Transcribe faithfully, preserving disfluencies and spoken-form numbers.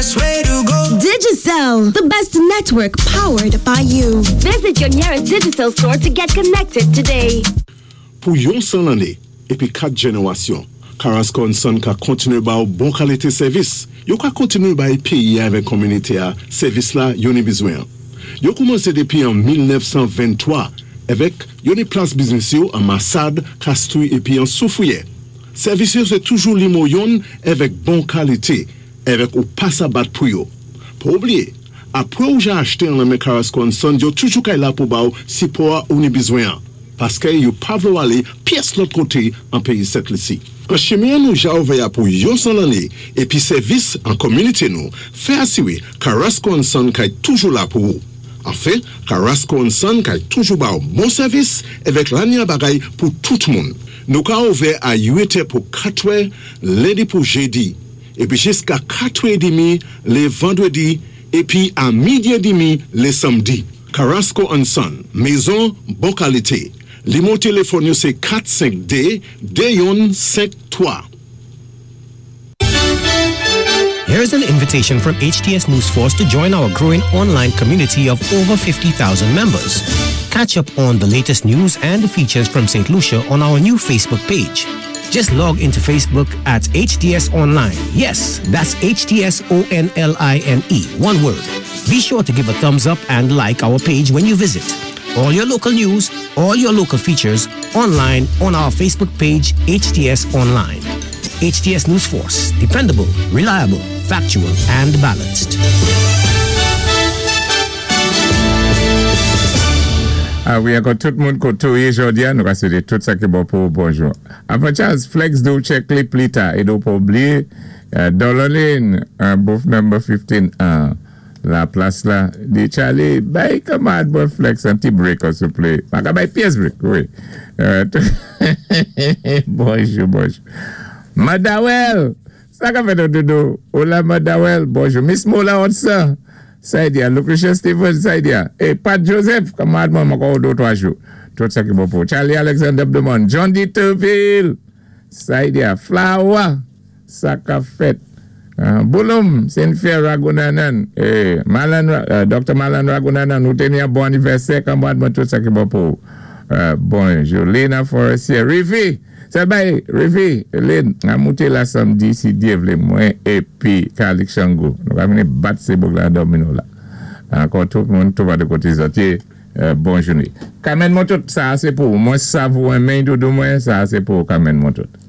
best way to go. Digicel, the best network powered by you. Visit your nearest Digicel store to get connected today. Pou yon san lanné, épi kat jénéwasyon, Carrasco and Son ka kontiné ba ou bon kalité sèvis. Yo ka kontiné bay péyi avèk kominité-a sèvis la yo ni bizwen. Yo koumansé dépi an mil nèf san venntwa avèk yo ni plas biznis yo an Massade, Castries épi an Soufrière. Sèvis yo sé toujou nimewo youn avèk bon kalité, avèk ou pa sa bat pou yo. Pa oubliyé, apwé ou ja achté an nan men Carrasco and Son, yo toujou kay la pou ba ou sipò ou ni bizwen. Paské yo pa vlé ou alé pyès lòt koté an péyi Sent Lisi. An chimen nou ja ouvè pou yon san lanné épi sèvis an kominité nou, fè asiwé Carrasco and Son kay toujou la pou ou. Anfen, Carrasco and Son kay toujou ba ou bon sèvis avèk lanya bagay pou tout moun. Nou ka ouvè a uit è pou katwè, lendi pou jédi, épi jiska katwè édmi lé vandwédi, épi a midi édmi lé sanmdi. Carrasco and Son, mézon bon kalité. Nimewo téléfòn yo sé kat senk dé de youn senk twa. Here's an invitation from H T S News Force to join our growing online community of over fifty thousand members. Catch up on the latest news and features from Saint Lucia on our new Facebook page. Just log into Facebook at H T S Online. Yes, that's H T S O N L I N E, one word. Be sure to give a thumbs up and like our page when you visit. All your local news, all your local features online on our Facebook page, H T S Online. H T S News Force, dependable, reliable, factual, and balanced. Ah wi, ankò tout moun koté ou yé jòdi-a, nou ka swété tout sa ki bon pou bonjou. Apwé Charles, Flex do check li pli ta, é do pa oubliyé, Dollar Lane, booth number fifteen, la plas la, di Charlie, bay kanmad bon Flex an ti break, souplé. Pa ka bay pyès break, wi. Bonjou, bonjou. Madawel, sa ka fèt doudou? Hola Madawel, bonjou. Miss Mola Otsa, sa di a, Lucretia Stevens, sa di a. E Pat Joseph, kanmad mwen mwen kon do twa jou. Tout sa ki bon pou. Charlie Alexander Blemont, John D. Turville, sa di a, Flower, sa ka fèt. Bouloum, Saint-Pierre Ragunanan, Malan, Doctor Malan Ragunanan, nou teni a bon anivèsè, kanmad mwen tout sa ki bon pou. Bonjou, Lena Forestier, Rivi, se bay, Rivi, Lynn, a mouté la samdi si Dyé vlé mwen, épi Kalik Chango. Nou ka vini bat sé bouk la domino la. Ankò tout moun, tout va de koté zòt yé, bonjou ni. Kamen mwen tout, sa sé pou, mwen savou men doudou mwen, sa sé pou kamen mwen tout.